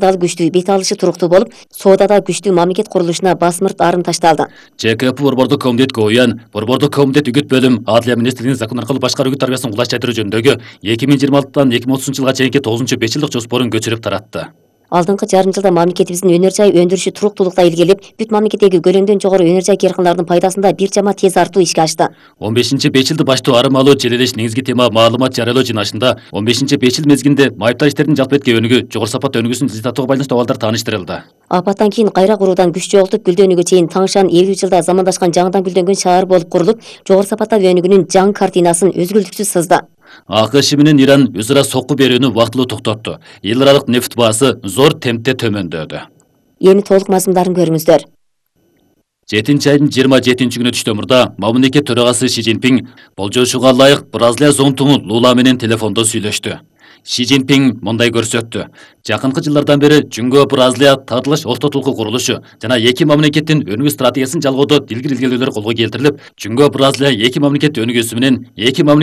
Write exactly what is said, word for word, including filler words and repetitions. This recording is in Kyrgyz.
дагы күчтүү, бет алышы туруктуу болуп, соодада күчтүү мамлекет курулушуна басмырт арын ташталды. ЖКП Борбордук комитет Гоян, Борбордук комитет үгүт бөлүм Адилия министрлигинин закон аркылуу башкаруу үгүт тарбиясын кулайчтыруу жөнүндөгү эки миң жыйырма алтыдан эки миң отузунчу жылга чейинки тогузунчу беш жылдык жоспорун көчүрүп таратты. Алдыңкы жарым жылда мамлекетибиздин өнөр жай өндүрүшү туруктуулукта илгерилип, бүт мамлекеттеги көлөмдөн жогору өнөр жай каркандарынын пайдасында бир жама тез артуу ишке ашты. он бешинчи беш жылды баштоо арым алуу желелеш негизги тема маалымат жарыялоо жыйналышында он бешинчи беш жыл мезгилинде майыптар иштердин жалпы этке өнүгүү, жогору сапат өнүгүүсүн жылдатууга байланыштуу абалдар тааныштырылды. Апаттан кийин кайра куруудан күч жоготуп, гүлдөнүүгө чейин Таңшан элүү жылда замандашкан жаңыдан гүлдөнгөн шаар болуп курулуп, жогору сапаттагы өнүгүүнүн жаңы картинасын өзгүлтүксүз сызды. АКШ менен Иран өз ара сокку берүүнү убактылуу токтотту. Эл аралык нефть баасы зор темпте төмөндөдү. Эми толук мазмундарын көрүңүздөр. жетинчи айдын жыйырма жетинчи күнү түштө мурда мамлекет төрагасы Ши Цзиньпин болжошуга ылайык Бразилия зонтугу Лула менен телефондо сүйлөштү. Ши Цзиньпин мындай көрсөттү. Жакынкы жылдардан бери Жөнгө Бразилия татылыш ортотулуку курулушу жана эки мамлекеттин өнүгүү стратегиясын жалгоодо дилгир илгерүүлөр колго келтирилип, Жөнгө Бразилия эки мамлекет өнүгүүсү менен эки мамлекет